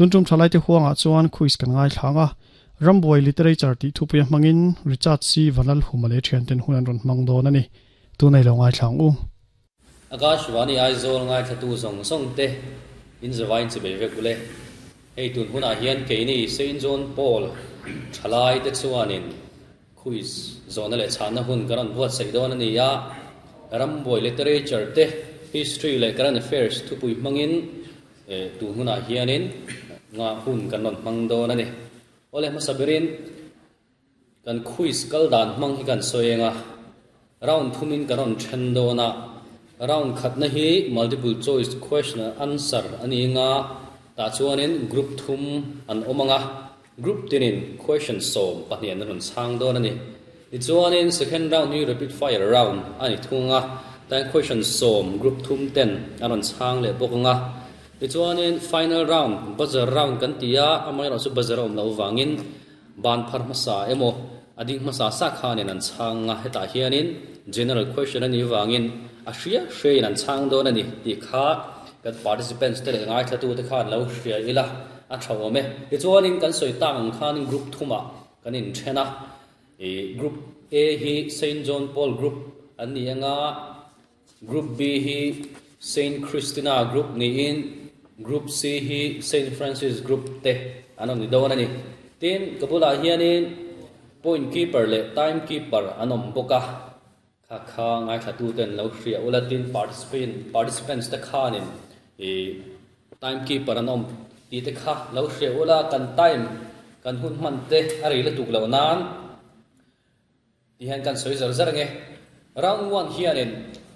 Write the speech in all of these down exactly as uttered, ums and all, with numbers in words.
Tuntum thalai te huanga chuan quiz kan ngai thlanga Ramboy literature ti thupuia hmangin Richard C Vanal humale thian ten hunan ron hmang don ani tunai lo ngai thlang u. Akashvani Aizawl ngai thatu zong zong te in zawain chi be vek ule. Hei tun huna hian keini Saint John Paul thalai te chuanin quiz zona le chana hun karan buat sei don ani ya. Ramboy literature te, history le current affairs thupui hmangin e tun huna hianin nga hun kan non hmang don ani. Ole masabirin kan quiz kal dan hmang hi kan soenga round thumin karon then dona. Round khat na hi multiple choice question answer ani nga ta chuanin group thum an omanga group tinin question som pahnih an ron chang don ani. Ti chuanin second round hi rapid fire round ani thunga tan question som group thum ten an ron chang le bokonga. Ti chuanin final round buzzer round kan tia amai ro chu buzzer om lo wangin ban phar ma sa emo ading ma sa sa khanin an changa heta hianin general question ani wangin a hria hrein an chang don ani ti kha kan participants te le ngai thatu te khan lo hria ila a thawome. Ti chuanin kan soi tang khan group thuma kan in thena e group A hi Saint John Paul group ani anga, group B hi Saint Christina group ni in, group C hi Saint Francis group te anon ni don ani. Tin kabula hianin point keeper le time keeper anom boka kha kha ngai thatu ten lo hria ula. Tin participant participants te khanin e time keeper anom ti te kha lo hria ula. Kan time kan hun man te ari le tuk lo nan ti hian kan soi zar zar nge. Round one hianin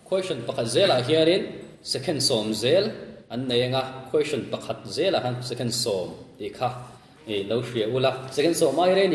question pakhat zela hianin second som zel an nei anga, question pakhat zela han second som ti kha e lo hria ula. Second som mai re ni.